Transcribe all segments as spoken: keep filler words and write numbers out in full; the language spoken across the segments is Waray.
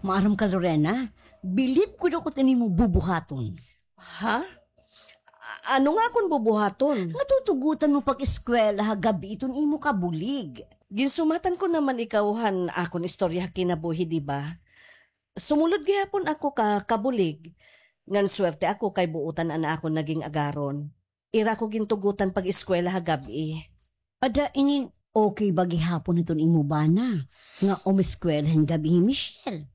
Maaram ka, Lorena, bilib gud ako iton imo bubuhaton. Ha? A-, ano nga akon bubuhaton? Nga tutugotan mo pag-eskwela ha gab-i iton imo kabulig. Ginsumatan ko naman ikaw han akon istorya ha kinabuhi, di ba? Sumulod gihapon ako ka kabulig. Ngan swerte ako kay buotan an akon naging agaron. Ira ko gintugotan pag-eskwela ha gab-i. Ada inin okay ba gihapon hiton imo bana nga umeskwela hin gab-i hi Michelle?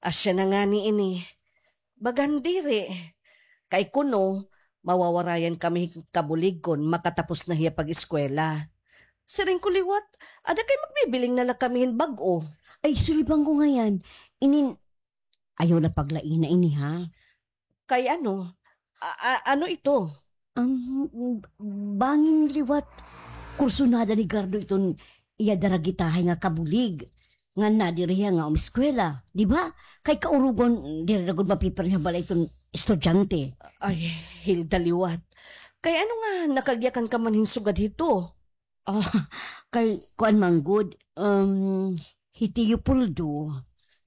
Asya na ngani ini. Bagan diri. Kay kuno, mawawarayan kami hin kabulig kon makatapos na hiya pag-eskwela. Siring ko liwat, ada kay magbibiling na la kami hin bag-o. Ay, sulibang ko ngay-an. Inin, ayaw na paglaina ini, ha? Kay ano? A-, a-, ano ito? Ang bangin liwat, kursunada ni Gardo iton iya daragitahay nga kabulig. Ngan nadiri hiya nga umeskwela, di ba? Kay kaurugon, diri na gud mapipirin ha balay iton estudyante. Ay, Hilda liwat. Kay ano nga nakagyakan ka man hin sugad hito? Ah, kay kuan man gud, um, hi Tio Puldo,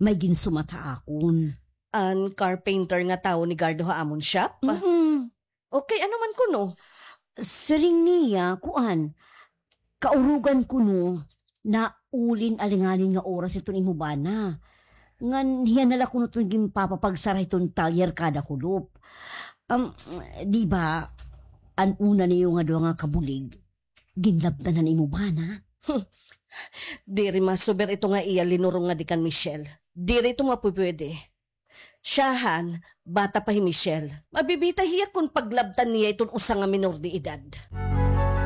may ginsumat ha akon. An carpenter nga tawo ni Gardo ha amon shop? Mm-mm. Okay, ano man kuno? Siring niya, kuan, kaurugan kuno, naulin alanganin nga oras iton imo bana. Ngan hiya na la kuno iton ginpapapagsara hiton talyer kada kulop. Um, di ba, an una niyo nga duha nga kabulig, ginlabtan na an imo bana? Diri masuber ito nga iya linurong nga di kan Michelle. Diri ito mapupwede. Siyahan, bata pa hi Michelle. Mabibitay hiya kon paglabtan niya iton usa nga minor de edad.